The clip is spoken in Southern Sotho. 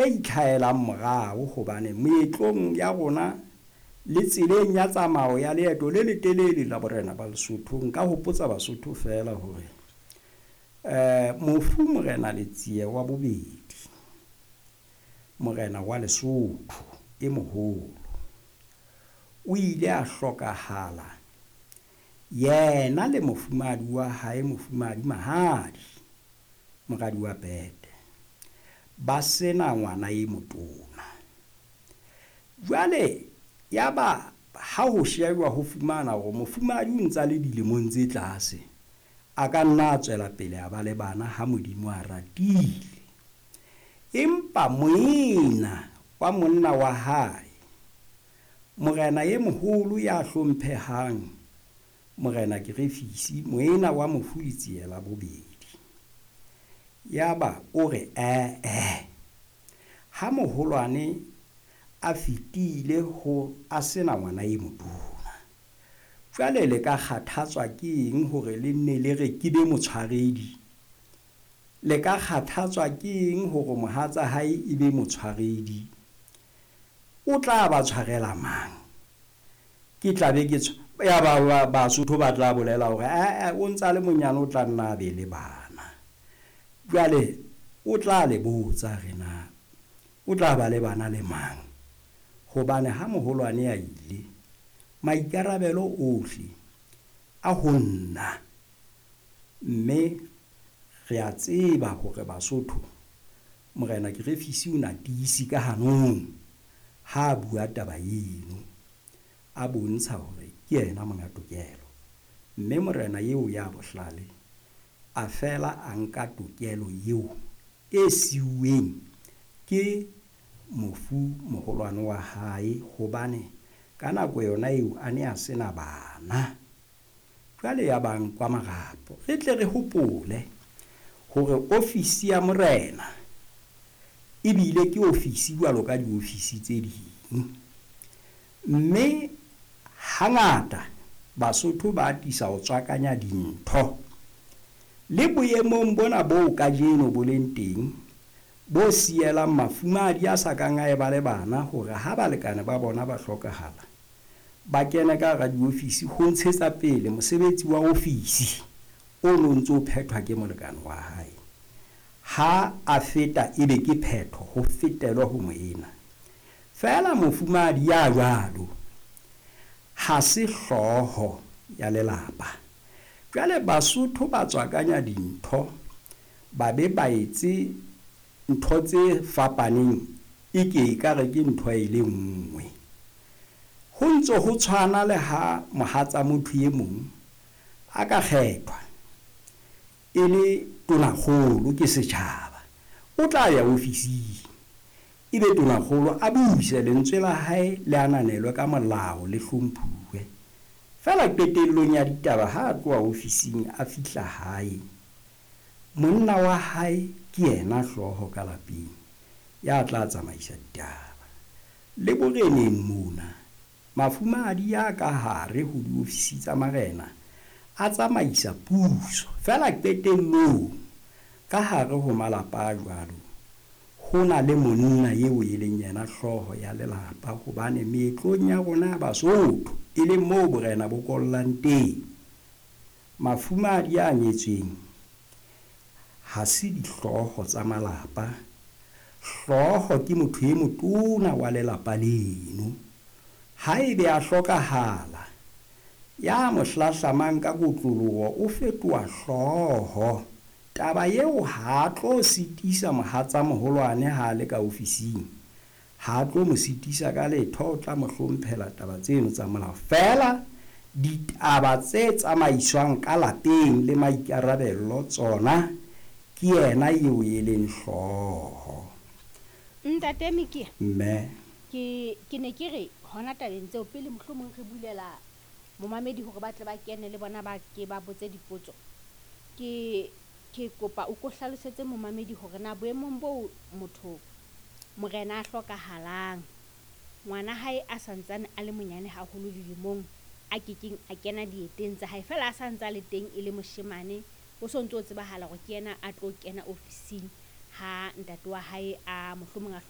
Itlhaelang morao hobane meetlong ya rona le tseleng ya tsamao ya leeto le letelele la borena ba Lesotho, nka hopotsa Basotho feela hore mofu Morena Letsie wa bobedi, morena wa Lesotho e moholo, o ile a hlokahala yena le mofumahadi wa hae, Mofumahadi Mahadi, moradi wa Pete, ba sena ngwana e motona. Jwale yaba ha ho shejwa ho fumana hore mofumahadi o ntsa le dilemong tse tlase, a ka nna a tswela pele a ba le bana ha Modimo a ratile. Empa moena wa monna wa hae, morena e moholo ya hlomphehang, Morena Kerefisi, moena wa mofu Letsie la bobedi, yaba o re ee, ha moholwane a fetile ho a sena ngwana e motona, jwale le ka kgathatswa ke eng hore le nne le re ke be motshwaredi? Le ka kgathatswa ke eng hore mohatsa hae e be motshwaredi? O tla ba tshwarela mang? Ke tla be ke ya ba Basotho ba tla bolela hore ee, o ntsa le monyane, o tla nna a be le bana. Jwale o tla le botsa re na o tla ba le bana le mang? Hobane ha moholwane a ile, maikarabelo ohle a ho nna. Mme re a tseba hore Basotho, Morena Kerefisi o na tiisi ka hanong ha a bua taba eno, a bontsha hore ke yena monga tokelo. Mme morena eo ya bohlale a fela a nka tokelo eo e siuweng ke mofu moholwane wa hae, hobane ka nako yona eo a ne a sena bana. Jwale ya bang kwa marapo, re tle re hopole hore ofisi ya morena ebile ke ofisi jwalo ka diofisi tse ding. Mme hangata Basotho ba atisa ho tswakanya dintho. Le boemong bona boo kajeno bo leng teng, bo sielang mafumahadi a sa kang a eba le bana hore ha balekane ba bona ba hlokahala, ba kene ka hara diofisi ho ntshetsa pele mosebetsi wa ofisi o no ntso o phethwa ke molekane wa hae. Ha a feta ebe ke phetho, ho fetelwe ho moena. Feela mofumahadi ya jwalo ha se hlooho ya lelapa. Jwale Basotho ba tswakanya dintho, ba be ba etse ntho tse fapaneng e ke ekare ke ntho e le nngwe. Ho ntso ho tshwana le ha mohatsa motho e mong a ka kgethwa e le tonakgolo ke setjhaba, o tla ya ofising ebe tonakgolo a buse, lentswe la hae le ananelwe ka molao, le hlomphuwe. Feela qetellong ya ditaba ha a tloha ofising a fihla hae, monna wa hae ke yena hlooho ka lapeng ya tla tsamaisa ditaba. Le boreneng mona, mafumahadi ya ka hare ho diofisi tsa marena a tsamaisa puso. Feela qetellong ka hare ho malapa a jwalo ho na le monna eo e leng yena hlooho ya lelapa, hobane meetlong ya rona ya Basotho e leng moo borena bo kollang teng, mafumahadi a nyetsweng ha se dihlooho tsa malapa. Hlooho ke motho e motona wa lelapa leno. Haebe a hlokahala, ya mo hlahlamang ka kotloloho o fetoha hlooho. Taba eo ha a tlo sitisa mohatsa moholwane ha a le ka ofising, ha a tlo mo sitisa ka letho, o tla mo hlomphela taba tseno tsa molao. Feela ditaba tse tsamaiswang ka lapeng le maikarabello tsona ke yena eo e leng hlooho. Ntate Mikia, Mme ke ne ke re hona tabeng tseo pele mohlomong re bulela momamedi hore ba tle ba kene le bona ba ke ba botse dipotso. Ke kopa o ko hlalosetse momamedi hore na boemong boo motho morena a hlokahalang, ngwana hae a santsane a le monyane haholo dilemong, a kekeng a kena dieteng tsa hae, feela a santse a le teng e le moshemane, o so ntso o tsebahala hore ke yena a tlo kena ofising. Ha ntate wa hae a mohlomong a hloka.